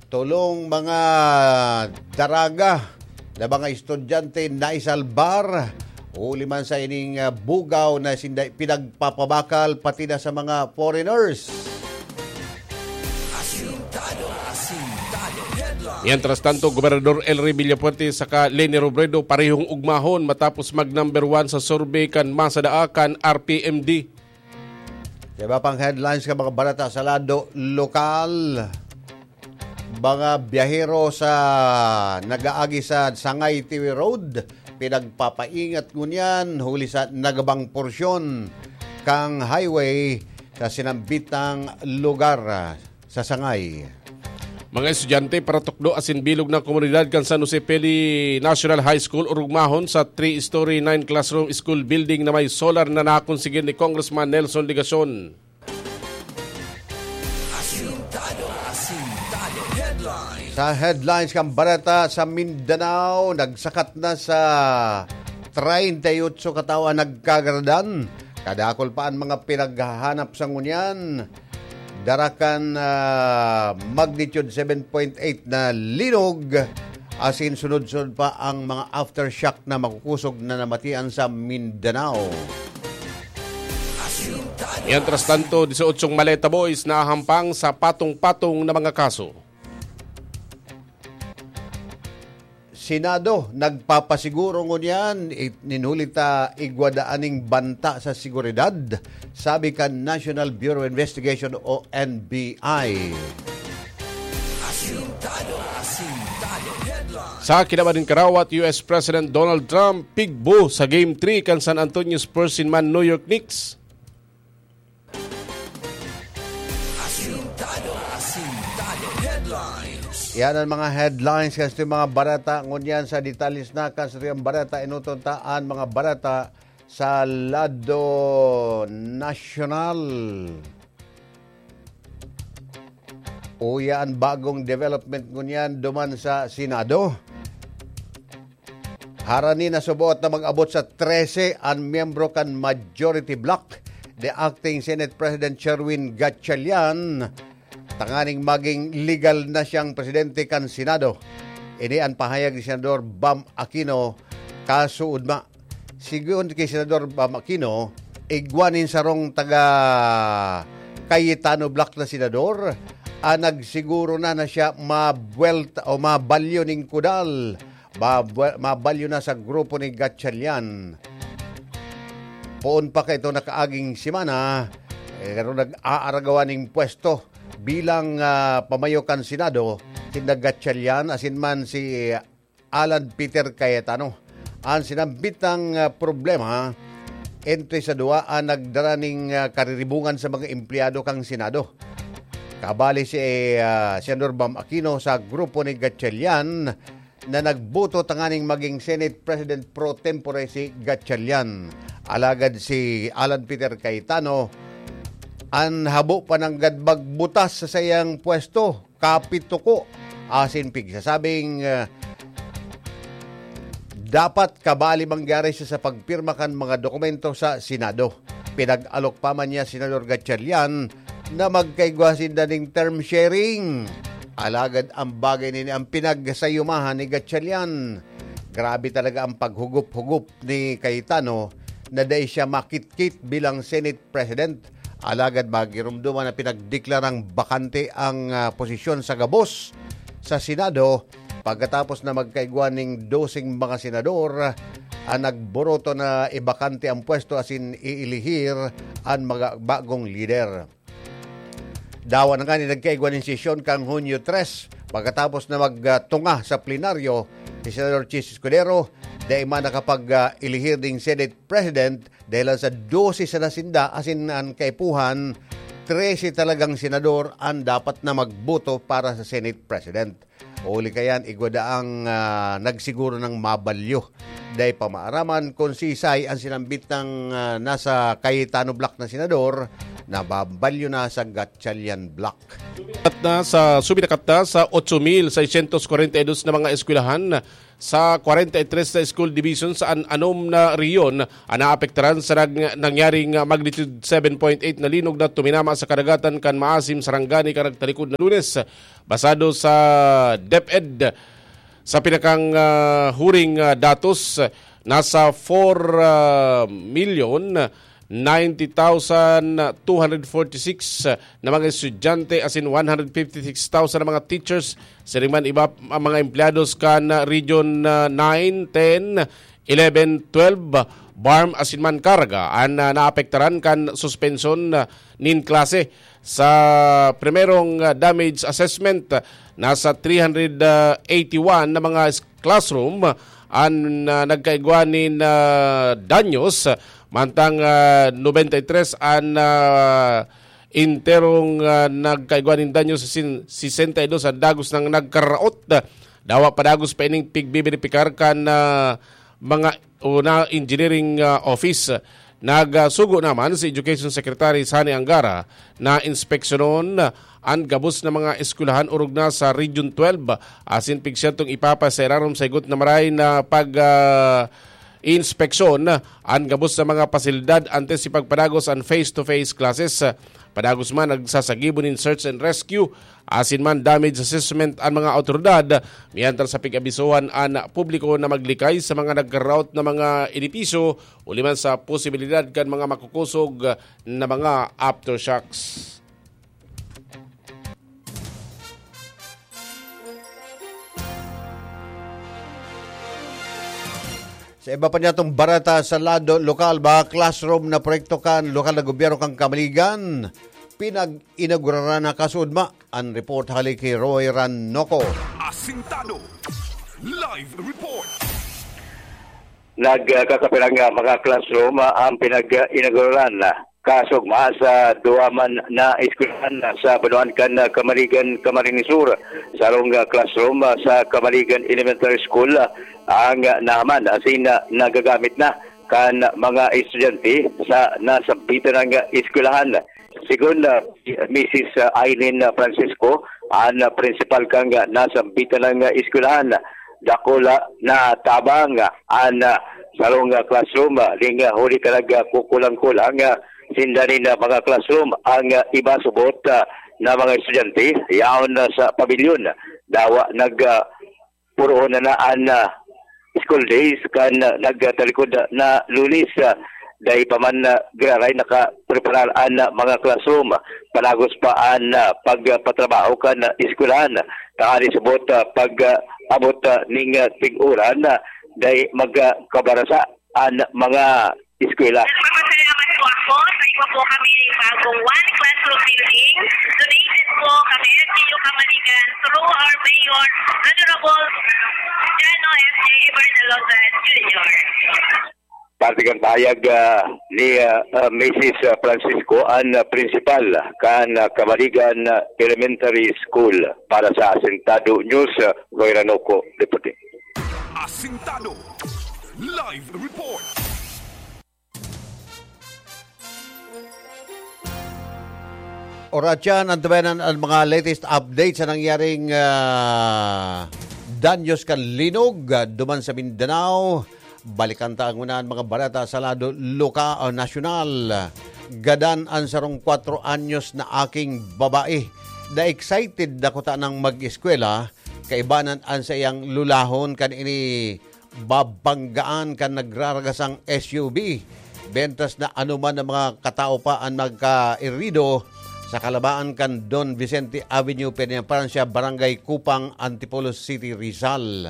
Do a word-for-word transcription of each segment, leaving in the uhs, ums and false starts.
Tolong mga daraga na mga estudyante naisalbar huli man sa ining, ah, bugaw na sinda pinagpapabakal pati na sa mga foreigners. Asintado, asintado, headline. Mientras tanto, Gobernador Elry Villafuerte saka Leni Robredo parehong ugmahon matapos mag number one sa survey kan Masa Daa kan R P M D. Sa iba pang headlines kan mga balita sa lado lokal, mga biyahero sa nag-aagi sa Sangay Tiwi Road, pinagpapaingat ngunyan huli sa nagabang porsyon kang highway sa sinambitang lugar sa Sangay. Mga estudyante, paratukdo asin bilog na komunidad kan San Jose Pele National High School orugmahon sa three-story, nine-classroom school building na may solar na nakonsigir ni Congressman Nelson Legacion. Asintado, asintado, headline. Sa headlines kan bareta sa Mindanao, nagsakat na sa treinta y ocho katawo an nagkagaradan. Kadakul pa an mga pinaghahanap sa ngunyan. Dara kan, ah, magnitude seven point eight na linog, asin sunod-sunod pa ang mga aftershock na makukusog na namatian sa Mindanao. Mientras tanto, dieciocho maleta boys nahahampang sa patong-patong na mga kaso. Senado nagpapasiguro ngunyan, it-, nin huli ta igwa daa ning banta sa seguridad, sabi kan National Bureau of Investigation o N B I. Asintado, asintado, headline. Sa kinaban nin karawat, U S President Donald Trump pigbo sa Game three kan San Antonio Spurs sin man New York Knicks. Asintado, asintado, headlines. Yan ang mga headlines kan satuyang mga bareta. Ngunyan sa detalles na kan satuyang bareta, enoton ta an mga bareta sa lado nasyonal. Uya an bagong development ngunyan duman sa Senado. Harani na suboot na mag-abot sa trese an miyembro kan majority bloc, the acting Senate President Sherwin Gatchalian, tanganing maging legal na siyang presidente kan Senado. Ini an pahayag ni Senador Bam Aquino kasuodma. Sigon ki Senador Bam Aquino, igwa nin sarong taga Cayetano bloc na senador an nagsiguro na na siya mabuwelta o mabalyo nin kudal, mabwe-, mabalyo na sa grupo ni Gatchalian. Poon pa kaito nakaaging semana, eh, pero nag-aaragawan ning pwesto bilang, ah, pamayo kan Senado, si Gatchalian, asin man si Alan Peter Cayetano. An sinambitang, ah, problema entre sa duwa an nagdara ning, ah, kariribungan sa mga empleyado kan Senado. Kabali si, ah, Senador Bam Aquino sa grupo ni Gatchalian na nagboto tanganing maging Senate President pro tempore si Gatchalian. Alagad si Alan Peter Cayetano an habo pa nanggad magbutas sa saiyang pwesto, kapituko, asin pigsasabing, ah, dapat kabali mangyari siya sa pagpirma kan mga dokumento sa Senado. Pinag-alok pa man niya Senador Gatchalian na magkaigwa sinda ning term sharing. Alagad ang bagay nini ang pinagsayumahan ni Gatchalian. Grabe talaga ang paghugup-hugup ni Cayetano na dai siya makitkit bilang Senate President. Alagad magirumduman na pinagdeklarang bakante ang, ah, posisyon sa gabos sa Senado pagkatapos na magkaigwa ning doseng mga senador ang nagboroto na ibakante ang pwesto asin iilihir an mga bagong lider. Dawa na ngani nagkaigwa nin sesyon kan Hunyo tres pagkatapos na magtunga sa plenaryo si Senador Chiz Escudero, dai man nakapag, ah, ilihir ning Senate President dahil sa dose sana sinda asin an kaipuhan, trese talagang senador an dapat na magboto para sa Senate President. Huli kayan, igwa daang, ah, nagsiguro ng mabalyo. Dai pa maaraman kung sisay ang sinambit ng, ah, nasa Cayetano bloc na senador nababalyo na sa Gatchalian Block. At na sa, suminakat na sa otso mil seiscientos kwarenta y dos na mga eskwelahan sa kwarenta y tres na school division sa an-, anom na rehiyon an naapektaran sa nag-, nangyaring magnitude seven point eight na linog na tuminama sa kadagatan kan Maasim, Sarangani, kan nagtalikod na Lunes. Basado sa DepEd, sa pinakang, ah, huring, ah, datos, nasa four, ah, million ninety thousand two hundred forty-six na mga estudyante, asin one hundred fifty-six thousand na mga teachers, siring man iba ang mga empleyados kan, ah, Region, ah, nine, ten, eleven, twelve, BARMM asin man KARG, an, ah, naapektaran kan suspensyon, ah, nin klase. Sa primerong, ah, damage assessment, ah, nasa three hundred eighty-one na mga s-, classroom, ah, an, ah, nagkaigwa nin, ah, danyos, mantang, ah, nobenta y tres an, ah, enterong, ah, nagkaigwa nin danyos, sin-, sesenta y dos an dagos nang nagkaraot. Dawa pa dagos pa ining pigbiberipikar kan, ah, mga o na engineering, ah, office. Nagsugo naman si Education Secretary Sani Angara na inspeksyonon an gabos na mga eskwelahan orog na sa Region twelve, asin pigsyentong ipapa sa irarom sa higot na maray na pag, ah, inspeksyon an gabos na mga pasilidad antes ipagpadagos an face-to-face classes. Padagos man, nagsasagibo nin search and rescue asin man damage assessment an mga awtoridad, mientras sa pig-abisohan an publiko na maglikay sa mga nagkaraot na mga edipisyo, huli man sa posibilidad kan mga makukusog na mga aftershocks. Sa iba pa niyatong bareta sa lado lokal, mga classroom na proyekto kan lokal na gobyerno kan Camaligan, pinag-inauguraran na kasudma. An report hali ki Roy Ranoco. Asintado. Live report. Nagkakapirang, ah, mga classroom, ah, ang pinag-inauguraran, ah, kasugma sa duwa man na eskwelahan, ah, sa banwaan kan, ah, Camaligan, Camarines Sur. Sarong, ah, classroom, ah, sa Camaligan Elementary School, ah, ang, ah, naman asin, ah, nagagamit na kan mga estudyante sa nasambitan ng, ah, eskwelahan. Segun, ah, Misis, ah, Aileen, ah, Francisco, an, ah, prinsipal kan, ah, nasambitan ng, ah, eskwelahan, dakula na tabang, ah, an, ah, sarong, ah, classroom, ah, ning, ah, huli ka nag, ah, kukulang-kulang, ah, sinda nin, ah, mga classroom ang, ah, iba subot, ah, na mga estudyante yaon, ah, sa pabilyon. Dawa nag, ah, puroon na na an, ah, school days kan, ah, nagtalikod na Lunes, ah, dai pa man, ah, giraray nakapreparar an, ah, mga classroom. Palagos pa an, ah, pagpatrabaho kan, ah, eskwelahan. Tanganing subot, ah, pag, ah, abot, ah, ning, ah, tig-uran, ah, dai magkabarasa an mga eskwela. Nagpapasalamat po ako sa iba po kami bagong one classroom building. Donated po kami, L G U Kamaligan, through our Mayor, Honorable Jano F J Bartolozan Junior. Parte kan pahayag, ah, ni, ah, ah, Misis Francisco, an, ah, prinsipal kan, ah, Kamaligan, ah, Elementary School. Para sa Asintado News, ah, Roy Ranoco, reporting. Asintado. Live report. Oras yan, antabayanan ang mga latest updates sa nangyaring, ah, danyos kan linog, ah, duman sa Mindanao. Balikan ta ang unahan mga bareta sa lado loka-, o nasyonal. Gadan an sarong kwatro anyos na aking babae. Na-excited na kuta nang mag-eskwela, kaibanan an saiyang lulahon kan ini babanggaan kan nagraragasang S U V. Mientras na anoman na mga katao pa ang nagkairido sa kalabaan kan Don Vicente Avenue, Peñafrancia, Barangay Kupang, Antipolo City, Rizal.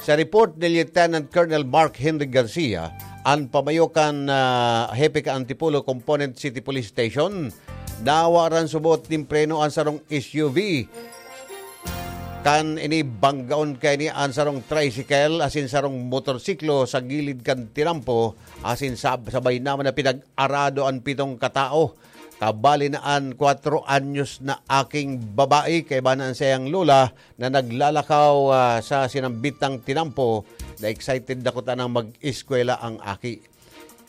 Sa report ni Lieutenant Colonel Mark Henry Garcia, an pamayo kan, ah, hepe kan Antipolo Component City Police Station, nawaran subot nin preno an sarong S U V. Kan ini banggaon kaini an sarong tricycle asin sarong motorsiklo sa gilid kan tinampo, asin sab-, sabay naman na pinag-arado an pitong katao. Kabali na an kwatro anyos na aking babae, kaiba na an saiyang lola na naglalakaw, ah, sa sinambitang tinampo na excited na kuta nang mag-eskwela ang aki.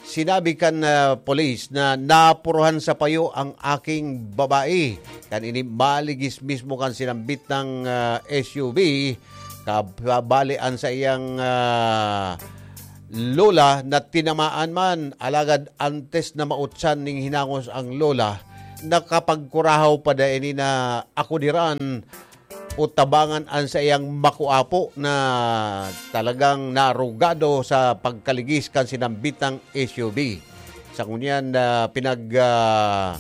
Sinabi kan, ah, pulis na napuruhan sa payo ang aking babae. Kan ini maligis mismo kan sinambit na, ah, S U V, kabali an saiyang, ah, lola na tinamaan man. Alagad antes na mautsan ning hinangos ang lola, nakapagkurahaw pa daini na akudiran o tabangan an saiyang makuapo na talagang narugado sa pagkaligis kan sinambitang S U V. Sa ngunyan na pinag, ah,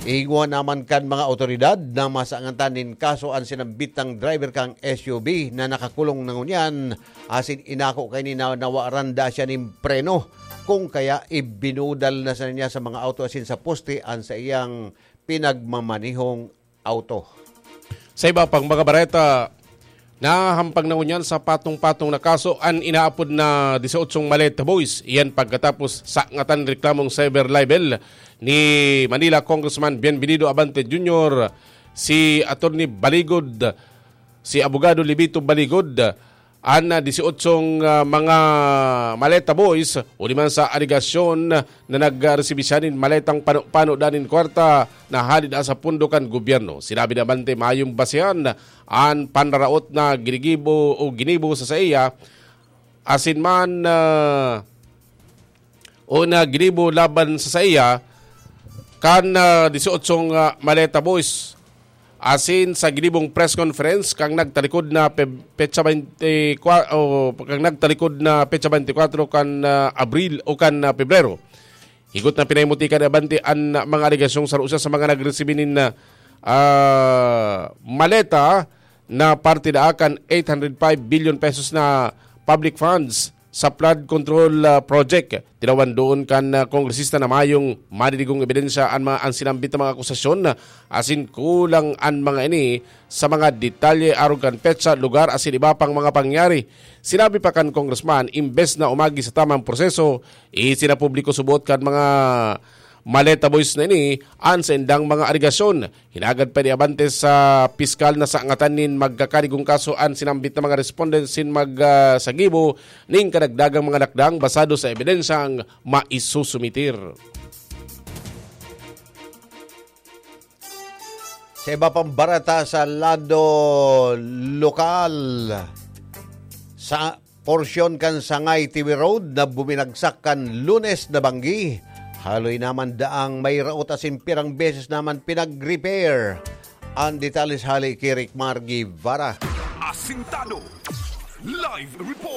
ihingwa naman kan mga awtoridad na masangatan nin kaso an sinambitang driver kan S U V na nakakulong na ngunyan, asin inako kaini na nawaran da siya nin preno, kung kaya ibinudal na sa niya sa mga auto asin sa poste an saiyang pinagmamanihong auto. Sa iba pang mga bareta, nahahampang na ngunyan sa patong-patong na kaso an inaapod na dieciocho Maleta Boys. Iyan pagkatapos sangatan reklamong cyber libel ni Manila Congressman Bienvenido Abante Junior, si Attorney Baligod, si Abogado Libito Baligod, an, ah, dieciocho, ah, mga Maleta Boys, huli man sa alegasyon na nagresibi siya nin maletang pano-pano danin kwarta na hali daa sa pondo kan gobyerno. Sinabi ni Abante mayong basehan an panraraot na ginigibo o ginibo sa saiya, asin man, ah, o na ginibo laban sa saiya kan, ah, dieciocho, ah, Maleta Boys. Asin sa ginibong press conference kan nagtalikod na pe-, petsa twenty-four, o kan nagtalikod na petsa twenty-four kan, ah, Abril o kan, ah, Pebrero. Higot na pinahimutikan ni Abante an mga alegasyong saro siya sa mga nagresibi nin, ah, maleta na parte daa kan eight hundred five billion pesos na public funds sa flood control, ah, project. Tinawan doon kan, ah, kongresista na mayong madidigong ebidensya an mga, an sinambit na mga akusasyon, ah, asin kulang an mga ini sa mga detalye arog kan petsa, lugar asin iba pang mga pangyayari. Sinabi pa kan congressman, imbes na umagi sa tamang proseso, isinapubliko subot kan mga Maleta Boys na ini an saindang mga alegasyon. Hinagad pa ni Abante sa piskal na sangatan nin magkakadigong kaso an sinambit na mga respondent sin mag, ah, sagibo ning kadagdagang mga lakdang basado sa ebidensyang maisusumitir. Sa iba pang bareta sa lado lokal, sa porsyon kan Sangay T V Road na buminagsak kan Lunes na banggi, haloy naman daang may raot asin pirang beses naman pinag-repair. Ang detalles hali ki Rick Mar Guevara. Asintado. Live report.